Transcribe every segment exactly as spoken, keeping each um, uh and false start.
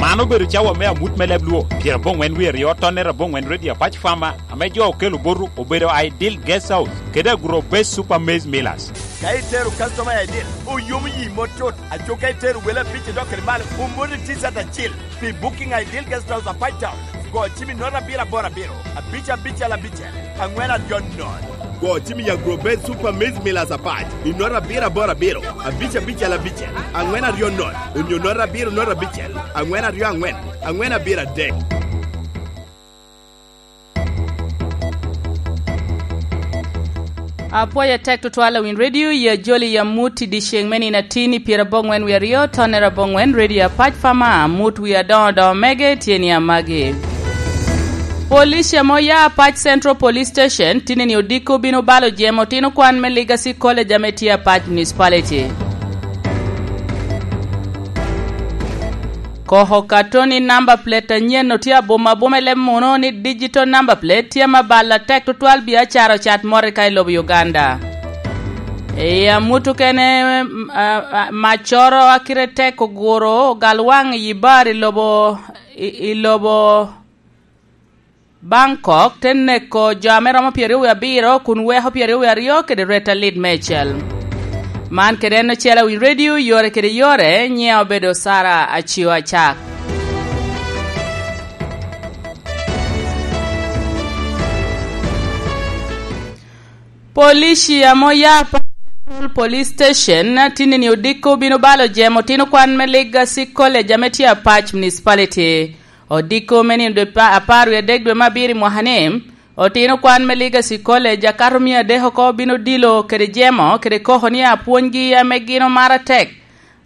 An obedo cawa me amut me leb Luo, pyeraboŋwen wie aryo, tonnere aboŋwen, Radio Apac Farmer, ame jo okelo botu obedo Ideal Guest House kede Agro Base Super Maize Millers. Ka itero customer i Ideal, oyomo yi mot tut. Aco ka itero wele abic idok kede malo, omoti T-shirt acil. Pi booking Ideal Guest House Apac Town, go cim i nota abiro aboro abiro, abic abicel abicel, aŋwen aryo nono. Go cim i Agro Base Super Maize Millers Apac i nota abiro aboro abiro, abic abicel abicel, aŋwen aryo nono, onyo nota abiro nota abicel, aŋwen aryo aŋwen, aŋwen abiro adek. Apwoyo atek tutwal awiny redio, ya joli ya mut i dyeceŋ me nino atin i pyeraboŋwen wie aryo, tonnere aboŋwen, Radio Apac Farmer, mut wie adoŋo doŋo mege tye ni amagi. Police ame oya Apac Central Police Station, tinni odiko bino balo jemo otino kwan me Legacy College ame tye Apac Municipality. Koko katoni number plate anyen otye abuma abuma i leb muno ni digital number plate tye ame balo atek tutwal biacara ocat mot i ka i lobo Uganda. I amut okene, m-, a, a, maccoro a kite tek oguro ogal waŋ i bar i lobo, i, i lobo Bangkok, te neko jo ame romo pyeraryo wie abiro kun weko pyeraryo wie aryo kede rwet alit meicel. Man kede en ocel awiny redio, yore kede yore, nyiŋe obedo Sara Acio Acak. Police ame oya Apac Central Police Station, tinni odiko bino balo jemo otino kwan me Legacy College ame tye Apac Municipality. Odiko me nino dwe pa-, apar wie adek dwe me abiro i mwaka-ni, otino kwan me Legacy College akato mia adek oko bino dilo kede jemo kede koko ni apwonygi ame gin omaro atek,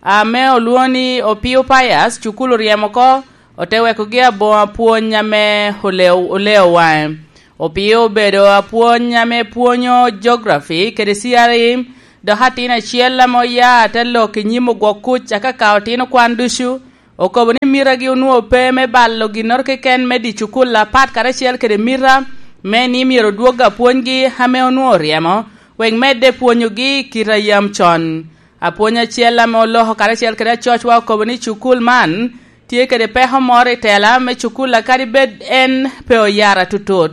ame olwoŋo ni Opio Pius, cukul oryemo oko, ote wekogi aboŋo apwony ame oleo, oleo waŋe. Opio obedo apwony ame pwonyo geography kede C R E, dok atin acel ame oya te lok i nyim ogwok kuc, akaka otino kwan ducu, okobo ni mitagi onwoŋo pe me balo ginnoro keken me di cukul apat karacel kede mita me ni myero odwog apwonygi ame onwoŋo oryemo, wek medde pwonyogi i kite a yam con. Apwony acel ame oloko karacel kede acocwa okobo ni cukul man tye kede peko moro i tela me cukul, kadi bed en pe oyara tutut.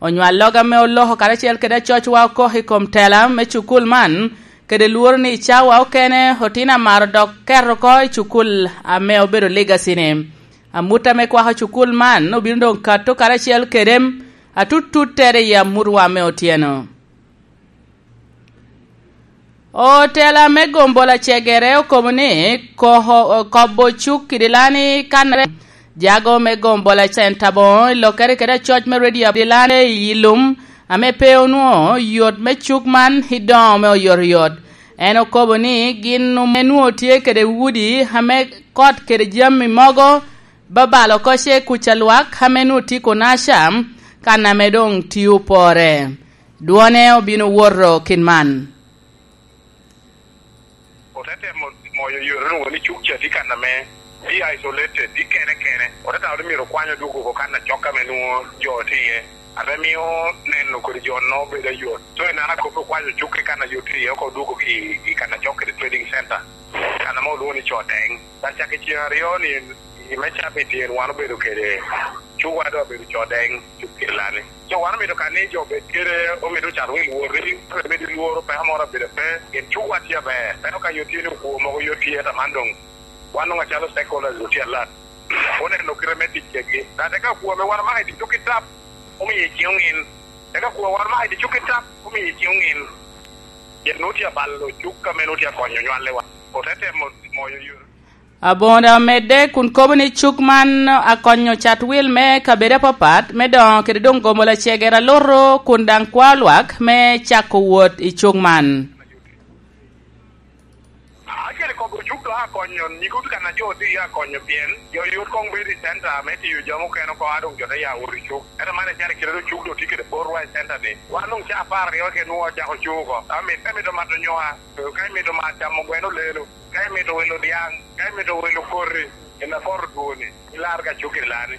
Onywalloga ame oloko karacel kede acocwa okoko i kom tela me cukul man, kede lworo ni i cawa okene otino amaro dok keto oko i cukul ame obedo Legacy-ni. Amut ame kwako cukul man obino doŋ kato karacel kede atututtere i amutwa me otyeno. Otela me gombola cegere okobo ni koko-, kobo cuk i Dilani kan jago me gombola centa boŋo i lokere kede acoc me redio Dilani i lum ame pe onwoŋo yot me cuk man i doŋo me oyotoyot. En okobo ni gin ame nwoŋo tye kede udi ame kot kede jami mogo babalo oko ce kuca lwak ame nwoŋo tye Konaca kan ame doŋ tio pore. Dwone obino woto kit man. Ote temo moyo yore nwoŋo ni cuk ca tye kan ame tye isolated, tye kene kene. Ote tamo ni myero okwany odwogo oko kan acok ame nwoŋo jo tye iye, ame mio neno kodi jo-no bedo ayot. So, i neno akobbi okwanyo cuk i kan a yot tye iye oko odwogo i, i kan acok kede trading center, kan ame olwoŋo ni Codeng. Ka cak i ceŋ aryo-ni, i me cabit tyen wan obedo kede cukwa doŋ obedo Codeng, cuk Kirlani. So wan omito ka ni jo obed kede, omito ocat wil woti, omito lworo, peko moro abedo pe, pien cukwa tye aber. Ento ka yot tye ni okwo mogo yot tye, ento man doŋ wan doŋ acalo stakeholders otye alat. Oneno kite me tic kedgi. Dok eka okwo ame wan omako i tic cuk i tap, omiyo i ciŋ oŋin. Eka okwo wan omako i tic cuk i tap, omiyo i ciŋ oŋin. Pien nwoŋo tye abalo cuk ame nwoŋo tye akonyo nywallewa. Ote temo moyo yore. Aboŋo daŋ omedde kun kobo ni cuk man akonyo cat wil me kabedo apapat me doŋo kede doŋ gomo lacegere aluto kun daŋ kwao lwak me cako wot i cuk man. Acel i kobo cuk doŋ akonyo, nyigo kan a jo tye iye akonyo pien jo yot koŋ bedo i center me tiyo jami okene oko, a doŋ jo te ya wot i cuk. Ento man icalo kite doŋ cuk doŋ tye kede borwa i center ni. Wan doŋ ca apar aryo kenwu ocako cuk oko. Ka mit-, ka imito mato nyoka, ka imito mato camo gweno lelo, ka imito wilo dyaŋ, ka imito wilo koti, i Nakoro dwoni, ilar ka cuk i Lani.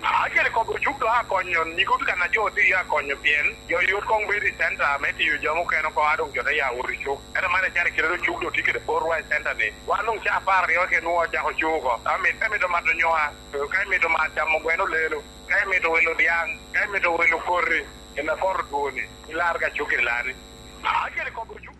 Acel i kop ocuk dok akonyo, nigo tye kan a jo tye iye akonyo, pien jo yot koŋ bedo i centa me tiyo jami okene oko, a doŋ jo te ya wot i cuk. Ento man icano kite dok cuk dok tye kede botwa i centa-ni. Wan doŋ caa apar aryo ke nwoŋo ocako cuk oko. Ka mit-, ka imito mato nyoka, ka imito ma-, camo gweno lelo, ka imito wilo dyaŋ, ka imito wilo koti, i me poto dwoni, ilar ka cuk i lani. Acel i kop ocuk.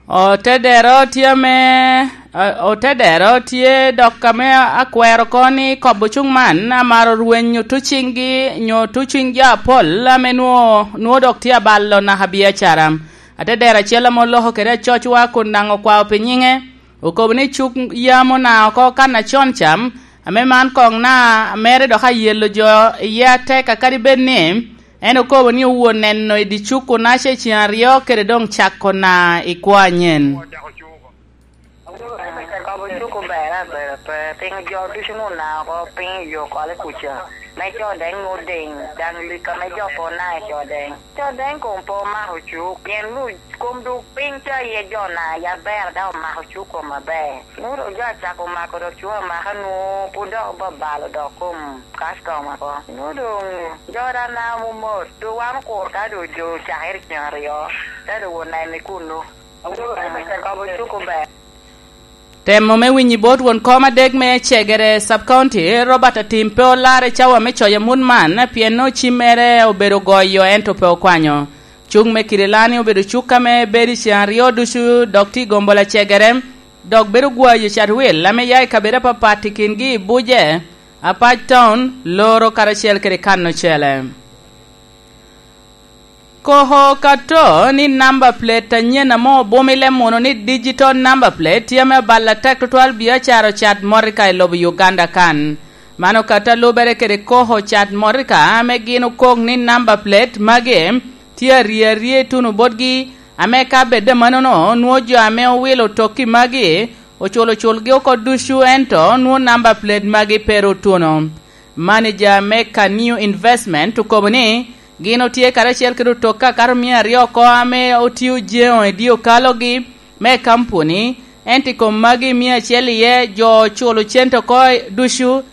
Otedero tye ame, o-, otedero tye dok ame akwero ko ni kop ocuk man amaro rwenyo tuciŋgi nyo tuciŋ jo apol ame nwo-, nwo dok tye abalo naka biacara. Atedero acel ame oloko kede acocwa kun daŋ okwao pi nyiŋe, okobo ni cuk yam ona oko kan acon cam, ame man koŋ na mere dok ayelo jo iye atek, akadi bed ni en okobo ni owuo neno i dye cuk kun ace ceŋ aryo kede doŋ cako na i kwo anyen. Kop ocuk ober aber pe, piny jo ducu nuna oko piny yo kole kuca. Me co deng nu ding, daŋ lika me jo po na i co deng. Co deng kom po mako cuk, pien nu kom du piny ca iye jo na ya ber daŋ omako cuk kom aber. Nu do jo acako mako dok cuk amaka nu pud dok obabalo dok kom customer ko. Nu doŋ jo da na mumot, du wan okur ka du jo cakere ceŋ aryo, te du won nene kunu. Kop ocuk ober. Temo me winyo i bot won kom adek me Cegere Sub-County, Robert Atim, pe olarre cawa me coyo amut man, pien nwoŋo cim mere obedo goyo, ento pe okwanyo. Cuk me Kirilani obedo cuk ame bedo i ceŋ aryo ducu, dok tye i gombola Cegere, dok bedo gwayo catwil ame ya i kabedo apapat i kingi i Buje, Apac Town, Loro karacel kede Kano Cele. Koko okato ni namba plate anyen ame obumile muno ni digital number plate tye ame abalo atek tutwal biacara ocat motoka i lobo Uganda kan. Man okato a lubere kede koko ocat motoka ame gin okok ni namba plate magi tye arye arye ituno botgi, ame ka bed amannono nwoŋo jo ame owilo otokki magi oculo culgi oko ducu, ento nwoŋo namba plate magi pe ru otuno. Manager me Kaniu Investment okobo ni gin otye karacel kede otokka akato mia aryo oko ame otio jeŋo i dye okalogi me kampuni, ento i kom magi mia acel iye jo oculo cente oko ducu,